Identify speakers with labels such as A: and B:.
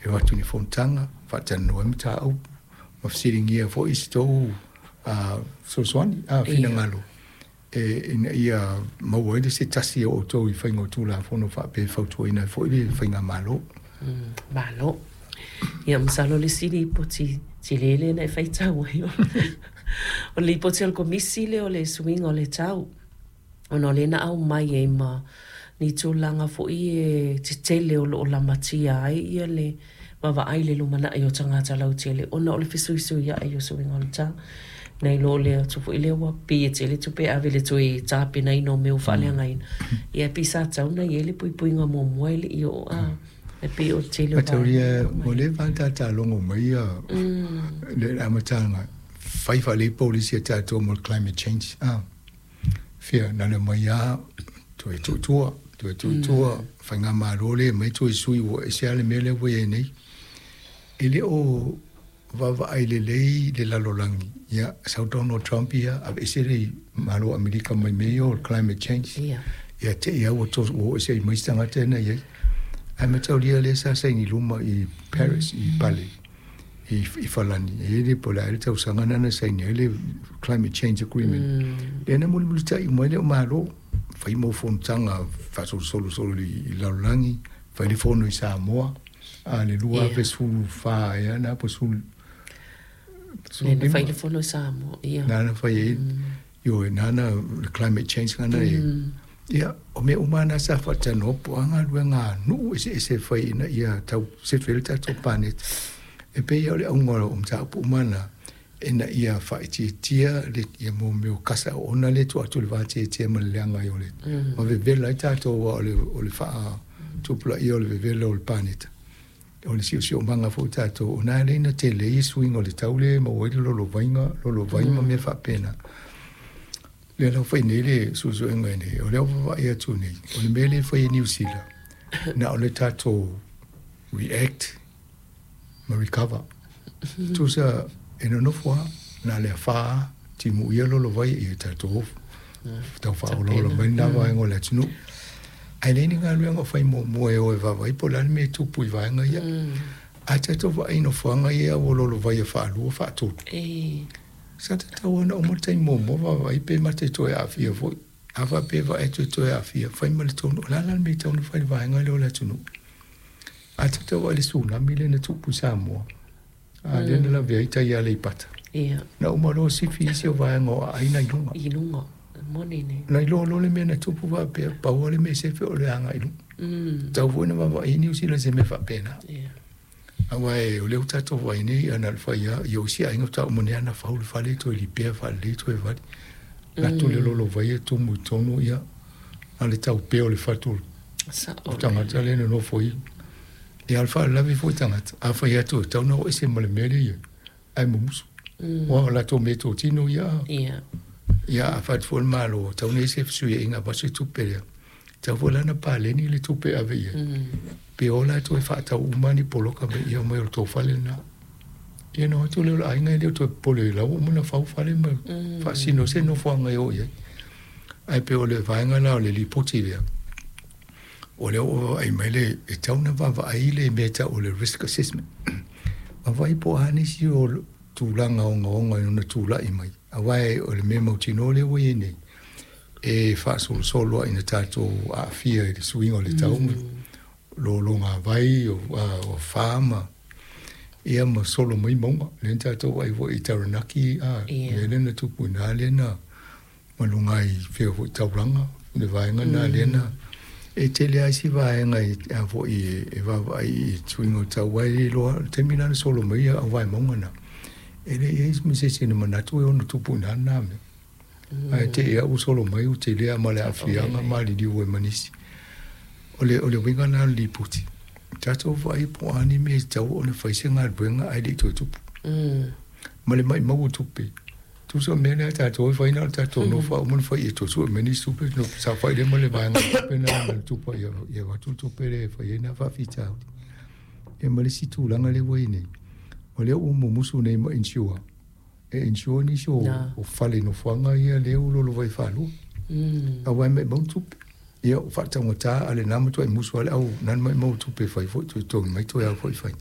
A: E o atu i ni fonotaga, faatalanoa ai mataupu ma fesiligia foi se tou fesoasoani, finagalo e ina ia maua ai le se tasi o outou i faiga o Tulafono faapea e fautuaina ai foi le faigamalo.
B: Malo. Ia, masalo le isi lipoti tele lea na e faitau ai o le lipoti a le Komisi lea o le suiga o le tau, ona o lea na aumai ai ma ni tulaga foi e tetele o lo o lamatia ai ia le vaavaai i le lumanai o tagata lautele ona o le fesuisuiai o suiga o le tau. Nai lo le atu foi lea ua pei e tele tupe e ave i le toe tapenaina o mea ua faaleagaina. Ia pei sa tatau ona i ai le puipuiga muamua e le i oo a. E pei o le tele o
A: Mataulia ua leva ona tata logo mai ia le amataga fai faalelei polisi a tatou mo le climate change. Fia na le mai a toe tuutua, toe tuutua, faigamalo le mai toe sui ua ese lava le mea lea ua i ai nei. E le o vaavaai lelei le lalolagi. Ia, sau Donald Trump ia, aveese le Malo o Amerika mai mea ia o le climate change. Ia te i lava ua oo ese ai mai isi tagata na i ai. Ae mataulia lea sa saini luma i Paris, i Pale, i Falani, e i ai le po o le a le tausaga lena na saini ai le Climate Change Agreement. Lea na mulimulitai uma ai le Malo, fai mau fonotaga faasolosolo i le lalolagi, fai le fono i Samoa, a le 2014 ea na po 15.
B: Lea na fai le fono i Samoa, ia.
A: Na na fai ai, ioe, na na le climate change ngana e. Ia, o mea uma na sa faatalanoa po o a galuega a nuu eseese e fai ina ia tau sefe ai le tatou paneta. E pei o le auga o mataupu uma na, ina ia faaitiitia le ia mo mea o kasa oona lea e tuu atu i le vateatea ma le leaga ai o le ma vevela ai tatou aua o le faatupulaia o le vevela o le paneta. O le siosiomaga foi o tatou, o na e alai ona tele ai suiga o le tau lea e maua ai le lolovaiga, lolovai ma mea faapena. Lea la ua fai nei le suesuega nei, o lea ua vaavaai atu nei, o le mea lea e fai e Niu Sila, na o le tatou react ma recover. Tusa e nonofo lava, na o le afa lava, timuia lolovai ia tatou tau faaolaola mai lena vaega o le atunuu. Ae leai ni galuega o fai muamua e o e vaavaai po o le a le mea e tupu i vaega ia. A tatou vaai i nofoaga ia ua lolovaia faalua, faatolu, sa tatau lava ona uma le taimi muamua vaavaai pe mata e toe aafia foi. A faapea e vaai atu e toe aafia, fai ma le tonu. O le a la le mea e tatau ona fai i le vaega lea o le atunuu? A tatou vaai i le tsunami lea na tupu i Samoa, a lea na lavea ai tai Aleipata. Na uma loa sifi isi o vaega o aai na i luga.
B: I luga, moni nei.
A: Na iloa loa le mea na tupu faapea, pau lava le mea e sefe o le agai i luga. Tatau foi ona vaavaai i Niu Sila i se mea faapena. Aua o lea ua tatou vaai nei, ana le fai lava, ia o isi aiga faatoa uma nei lava ona fau le fale, toe lipea faalelei toe vali. Alu atu le lolovai e tumu i totonu, ia, na o le taupea o le fatu o le tagata lea e nonofo ai. Ia, a o le faalavelave foi tagata, a fai atu e tatau ona o ese ma le mea lea e i ai, ae mumusu. Aua o latou meatotino ia. Ia, a fai atu foi le Malo, e tatau ona i ai se fesuiaiga avatu se tupe lea, e tatau foi la ona paleni le tupe e ave i ai. Pe o latou e faatau uma ni poloka me ia omai o le tou fale lena. Ia ona o atu lea o le aiga e le o toe popole la ua uma ona fau fale ma faasino se nofoaga e o i ai. Ae pei o le vaega la o le lipoti lea, o lea ua vaavaai mai le, e tatau ona vaavaai le mea e tau o le risk assessment. Vaavaai po o a nisi o tulaga ogaoga e ono tulai mai, aua o le mea mautinoa lea ua i ai nei, e faasolosolo lava ina tatou aafia i le suiga o le tau, lologavai, o fa ma ia ma solo mai mauga. Lea na tatou vaai foi i Taranaki, a, mea lea na tupu i ina lea na ma luga i fea foi taulaga, le vaega lena lea na e tele lava isi vaega e a foi e vaavaai i suiga o le tau, aua e le iloa le taimi la na solo mai ai au vae mauga na, e le i i ai ma se isi na manatu e ono tupu i ina lena mea. Ae te i lava ua solo mai ua tele lava ma le aafiaga maliliu ai ma nisi. O le o le uiga lena o le lipoti, tatou vaai po o a ni mea e tatau ona fai se galuega ae le i toe tupu. Ma le maumau o tupe. Tusa o le mea lea a tatou e fai na o le tatou nofo lava uma ona fai e toe sue mai nisi tupe ona saofai lea ma le vaega o tupe na na tupa ia ia avatu le tupe lea e fai ai na faafitauli. Ia ma le isi tulaga lea ua i ai nei, o lea ua mumusu nei ma insure, e insure nisi o, o fale nofoaga ia lea ua lolovai faalua. Aua e maumau le tupe. Ia, ua faataugata a o lena matuai musu lava le au na maumau tupe e fai foi toe totogi mai toe ao foi fai.